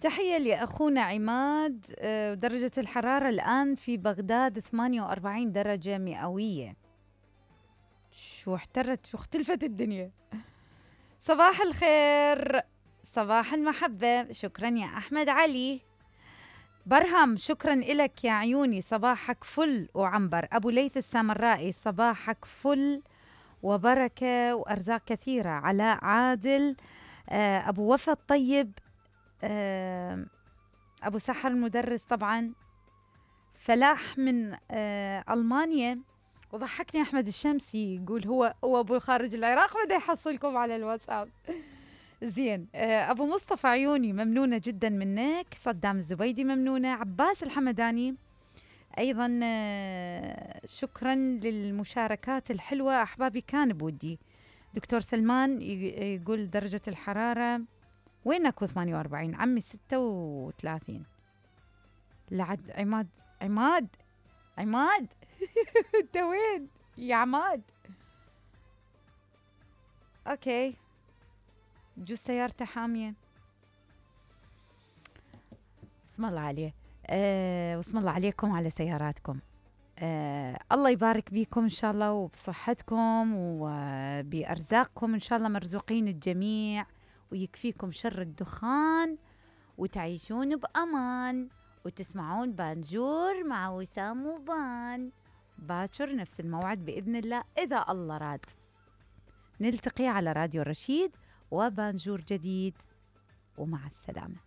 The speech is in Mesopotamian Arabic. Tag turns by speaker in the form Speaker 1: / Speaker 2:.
Speaker 1: تحية لأخونا عماد. درجة الحرارة الآن في بغداد 48 درجة مئوية. شو اختلفت الدنيا. صباح الخير، صباح المحبة. شكرا يا أحمد علي. برهم شكرا إلك يا عيوني، صباحك فل وعنبر. أبو ليث السامرائي صباحك فل وبركة وأرزاق كثيرة. علاء عادل، أبو وفا الطيب، أبو سحر المدرس طبعا، فلاح من ألمانيا. وضحكني أحمد الشمسي يقول هو أبو خارج العراق بده يحصلكم على الواتساب. زين. أبو مصطفى عيوني ممنونة جدا منك. صدام الزبيدي ممنونة. عباس الحمداني أيضا شكرا للمشاركات الحلوة أحبابي، كان بودي. دكتور سلمان يقول درجة الحرارة وينك 48 عمي 36. لعد عماد انت وين يا عماد؟ اوكي، جوز سيارته حامية. اسم الله عليه. واسم الله عليكم على سياراتكم. الله يبارك بيكم إن شاء الله وبصحتكم وبأرزاقكم إن شاء الله، مرزوقين الجميع، ويكفيكم شر الدخان وتعيشون بأمان وتسمعون بانجور مع وسام وبان باكر نفس الموعد بإذن الله إذا الله راد. نلتقي على راديو رشيد وبانجور جديد، ومع السلامة.